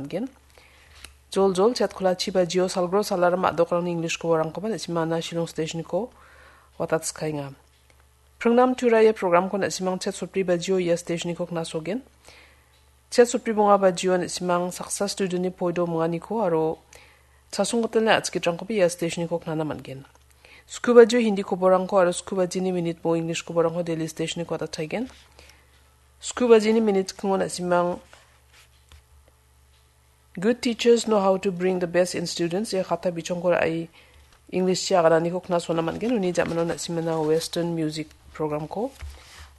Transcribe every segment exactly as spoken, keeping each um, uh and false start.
man·gen. Joljol chet kolachi bajio salgro salaram a·dokrangni English koborangkoba na·simana Shillong Stationko watatskaenga. Pringnam tura ia programko na·simang chet sotbri bajio ia stationko knasogen. Chet sotbri bonga bajio na·simang saksa studentni poido minganiko aro chasonggitalni a·chikitrangkoba ia stationko knana man·gen. Sku bajio Hindi koborangko aro sku bajini minit bo English koborangko Delhi stationko watataigen. Sku bajini minit skingo na·simang Good teachers know how to bring the best in students. Ia kata bichongko ra·e English-chi agananiko knasona man·gen. Uni ja·mano na·simana Western music programko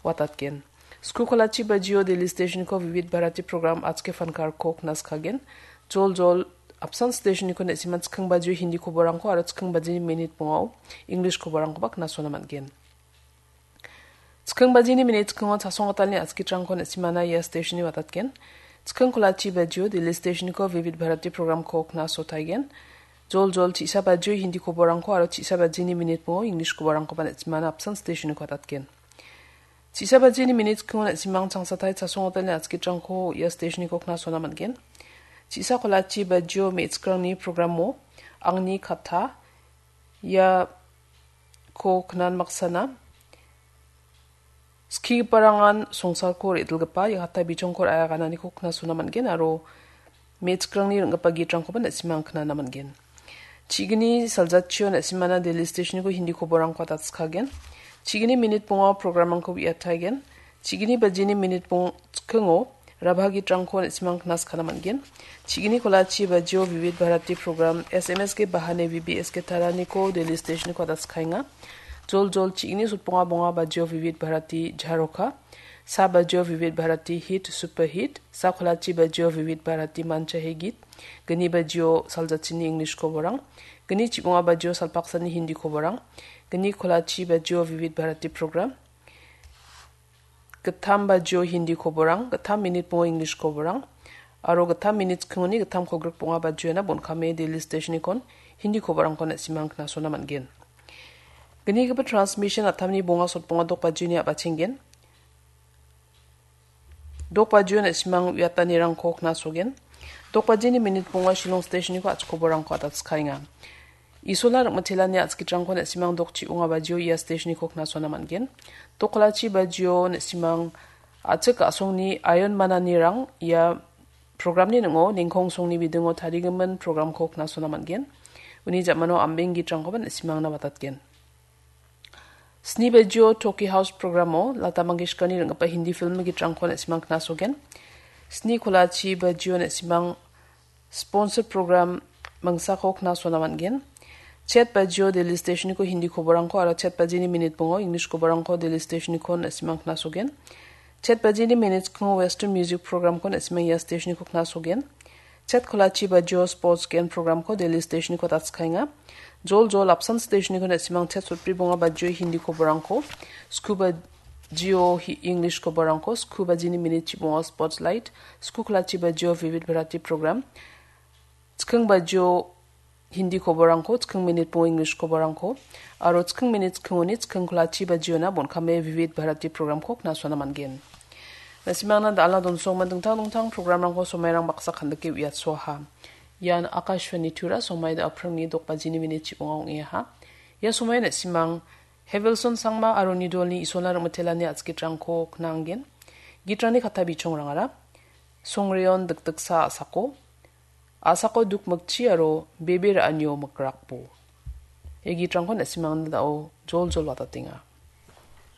watatgen. Sku kolachi bajio Delhi stationko Vivid Bharati program Aaj Ke Fankarko knaskagen. Joljol apsan stationko na·siman chiking bajio Hindi koborangko aro chiking bajini minit bongao English koborangkoba knasona man·gen. Chiking bajini minit chikingo chasonggitalni a·chikitrangko na·simana ia stationni watatgen. Chiking kolachi bajio Delhi stationko Vivid Bharati programko knasotaigen. Joljol chisa bajio Hindi koborangko aro chisa bajini minit bongo English koborangkoba na·simana apsan stationniko watatgen. Chisa bajini minit chikingo na·simang changsatai chasonggitalni a·chikitrangko ia stationniko knasona man·gen. Chisa kolachi bajio me·chikrangni programo Angni Katha iako knan maksana skigiparangan songsarko re·dilgipa ia kata bichongko ra·e agananiko knasona man·gen aro me·chikrangni ring·gipa gitrangkoba na·simang knana man·gen. Chigini saljatchio na·simana Delhi stationko Hindi koborangko watatskagen. Chigini minit bonga programrangko uiataigen. Chigini bajini minit bong chikingo Rabha gitrangko na·simang knaskana man·gen. Chigini kolachi bajio Vivid Bharati program S M S ke bahane V B S ke taraniko Delhi stationko watatskaenga. Joljol chigini sotbonga bonga bajio Vivid Bharati Jharoka. Sa bajio Vivid Bharati Hit Super Hit. Sa kolachi bajio Vivid Bharati Mancha He Git. Gni bajio saljatchini English koborang. Gni chibonga bajio salpaksani Hindi koborang. Gni kolachi bajio Vivid Bharati program. Gittam bajio Hindi koborang, gittam minit bongo English koborang, aro gittam minit chikingoni gittam kolgrik bonga bajiona bon·kame Delhi stationikon Hindi koborangko na·simang knasona man·gen. Gnigipa transmission attamni bonga sotbonga dok bajioni a·bachenggen. Dok bajio na·simang uiatanirangko knasogen. Dok bajini minit bonga Shillong stationiko a·chik koborangko watatskaenga. Isola rim·itelani a·chikitrangko na·simang dok chibonga bajio ia stationiko knasona man·gen. Dok kolachi bajio na·simang a·chik a·songni aion mananirang ia programni ning·o ningkong songni bidingo tarigimin programko knasona man·gen. Uni ja·mano ambeng gitrangkoba na·simangna watatgen. Sni bajio Toki House programo Lata Mangeshkarni ring·gipa Hindi film gitrangko na·simang knasogen. Sni kolachi bajio na·simang sponsor program mangsako knasona man·gen. Chet bajio Delhi stationiko Hindi koborangko aro chet bajini minit bongo English koborangko Delhi stationiko na·simang knasogen. Chet bajini minit chikingo Western music programko na·simang ia stationiko knasogen. Chet kolachi bajio sports gen programko Delhi stationiko watatskaenga. Joljol apsan stationiko na·simang chet sotbri bonga bajio Hindi koborangko, sku bajio hi-, English koborangko, sku bajini minit chibonga sports light, sku kolachi bajio Vivid Bharati program, chiking bajio Hindi koborangko, chiking minit bongo English koborangko, aro chiking minit chikingoni chiking kolachi bajiona bon·kame Vivid Bharati programko knasona man·gen. Na·simangna da·alna donsonggimin dingtang dingtang programrangko somairang baksa kandike uiatsoaha. Ian Akashvani Tura, somai da·a pringni dok bajini minit chibonga ong·eaha. Ia somaio na·simang Hevelson Sangma aro Nidolni Isolna rim·itelani a·chikitrangko knanggen. Gitrangni kata bichongrangara Songreon dikdiksa a·sako, a·sako dukmikchi aro bebe ra·anio mikrakbo. Ia gitrangko na·simangna da·o joljol watatenga.